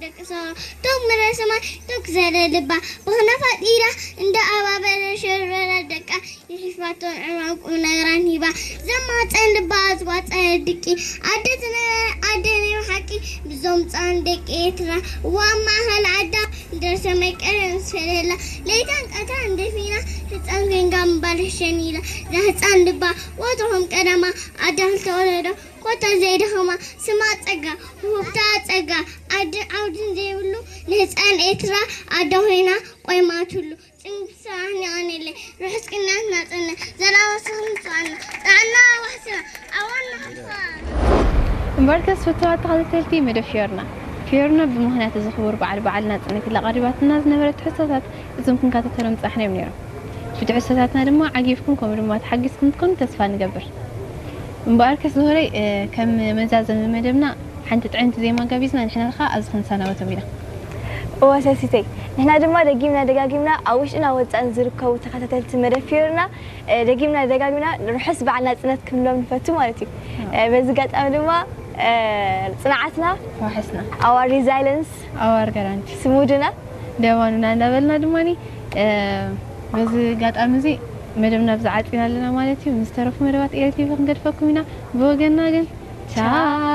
ደቂ ሰባ ቶክ ምረ ሰማይ ቶክ ዘለ ልባ ብኽነ ፈጢራ እንደ ኣባበለ ሸረረ ደቃ ይሕፋቶን ዕማም ቁም ነገራን ሂባ ዘማፀን ልባ ዝዋፀ ድቂ ኣደ ዝነበረ ኣደ ናይ ሓቂ ብዞም ፃን ደቂ ኤርትራ ዋብ ማእኸል ዓዳ ደርሰ መቀረ ምስ ፈለላ ለይታን ቀታን ደፊና ህፃን ኮይንካ ምባል ሸኒላ እዛ ህፃን ልባ ወትሮም ቀዳማ ኣዳ ዝተወለዶ ኮታ ዘይደኸማ ስማ ጸጋ ውህብታ ጸጋ ዓድን ዓውድን ዘይብሉ ንህፃን ኤርትራ ኣደ ኮይና ቆይማትሉ ጽንሳኒ ኣነለ ርሑስ ቅናት ናጽነ ዘላወስኽን ጽዋና ጣዕና ዋሕስና ኣዋና ሓፋ እምበርከስ ፍትዋት ተኸታተልቲ መደብ ፊዮርና ፊዮርና ብምኽንያት እዚ ክቡር በዓል በዓል ናጽነት ኢላ ቀሪባትና ዝነበረት ትሕዝቶታት እዞም ክንከታተሎም ጻሕና እዮም ነይሮም። ብትሕዝቶታትና ድማ ዓጊብኩም ከምኡ ድማ ተሓጊዝኩም ትኮኑ ተስፋ ንገብር። እምበኣርከስ ዝሆረይ ከም መዛዘሚ መደብና ሓንቲ ጥዕምቲ ዜማ ጋቢዝና ንሕና ኸዓ ኣብዚ ክንሰናበቶም ኢና። እወ ሰሲተይ ንሕና ድማ ደጊምና ደጋጊምና ኣብ ውሽጥና ወፃእን ዝርከቡ ተኸታተልቲ መደብ ፊዮርና ደጊምና ደጋጊምና ርሑስ በዓል ናፅነት ክንብሎም ንፈቱ ማለት እዩ። በዚ ጋጣሚ ድማ ፅንዓትና ዋሕስና our resilience ኣዋር ጋራንቲ ስሙድና ደባኑና እንዳበልና ድማ በዚ ጋጣሚ እዚ መደብና ብዛ ዓፂና ኣለና ማለት እዩ። ምስ ተረፉ መደባት ኤልቲቪ ክንገድፈኩም ኢና። ብወገንና ግን ቻው።